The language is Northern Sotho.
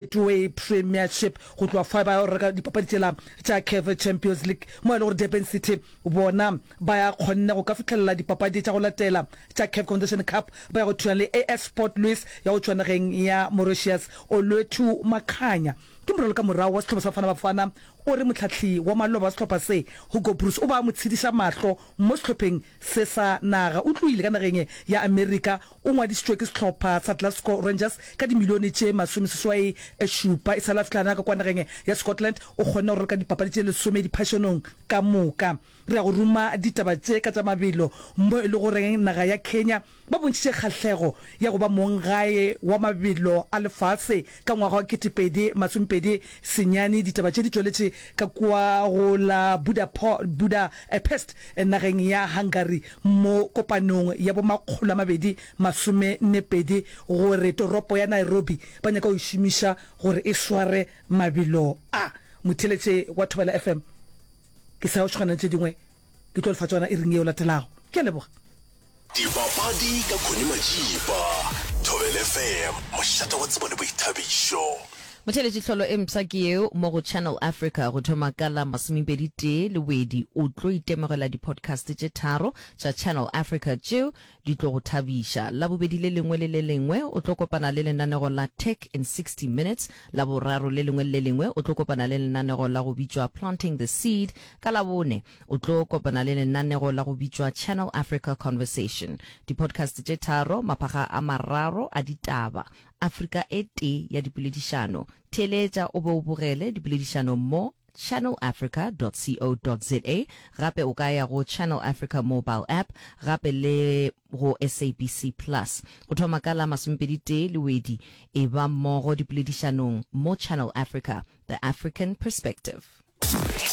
Betway Premiership go tloga fa ba ya go reka dipapadi tšela tša CAF Champions League mo e le gore Durban City bona ba ya kgonne go ka fihlelela dipapadi tša go latela tša CAF Confederation Cup ba ya go thulana le AS Port Louis ya go tšwa nageng ya Mauritius. Olwethu Makhanya ke moralokamorago wa sehlopha sa Bafana Bafana o re mohlahli wa maloba wa sehlopha se Hugo Broos o ba mo tshediša mahlo mo sehlopheng se sa naga. O tlohile ka nageng ya Amerika O ngwadišitšwe ke sehlopha sa Glasgow Rangers ka dimilione tše 67. E sa le a fihla ka kwa nageng ya Scotland, o kgonne go raloka dipapadi tše lesome diphašanong ka moka. Re ya go ruma ditaba tše ka tša mabelo mo e le goreng naga ya Kenya ba bontšhitše kgahlego ya go ba monggae wa mabelo a lefase ka ngwaga wa 2029. Ditaba tše di tšweletše ka kua go la Budapest nageng ya Hungary mo kopanong ya bo 242 gore toropo ya Nairobi ba nyaka go e šomiša gore e sware mabelo a. Motheeletše wa Thobela FM, ke sa yo šogana le tše dingwe, ke tlo le fa tšona iring yeo latelago. Ke a leboga. Dipapadi ka Connie Majiba, Thobela FM, mošate wa tsebo le boithabišo. Motheeletši hlolo e mpsha ke yeo mo go Channel Africa go thoma ka la masomepedi tee Lewedi o tlo itemogela di-podcast tše tharo tša Channel Africa tšeo di tlo go thabiša. Labobedi le lengwe le le lengwe o tlo kopana le lenanego la Tech in 60 Minutes, Laboraro le lengwe le le lengwe o tlo kopana le lenanego la go bitšwa Planting the Seed, ka Labone O tlo kopana le lenanego la go bitšwa Channel Africa Conversation. Di-podcast tše tharo, maphaga a mararo a ditaba, Afrika e tee ya dipoledišano. Theeletša o be o bogele dipoledišano mo channelafrica.co.za. Gape o ka ya go Channel Africa mobile app gape le go SABC Plus. Go thoma ka la masomepedi-tee Lewedi, eba mmogo dipoledišanong mo Channel Africa, The African Perspective.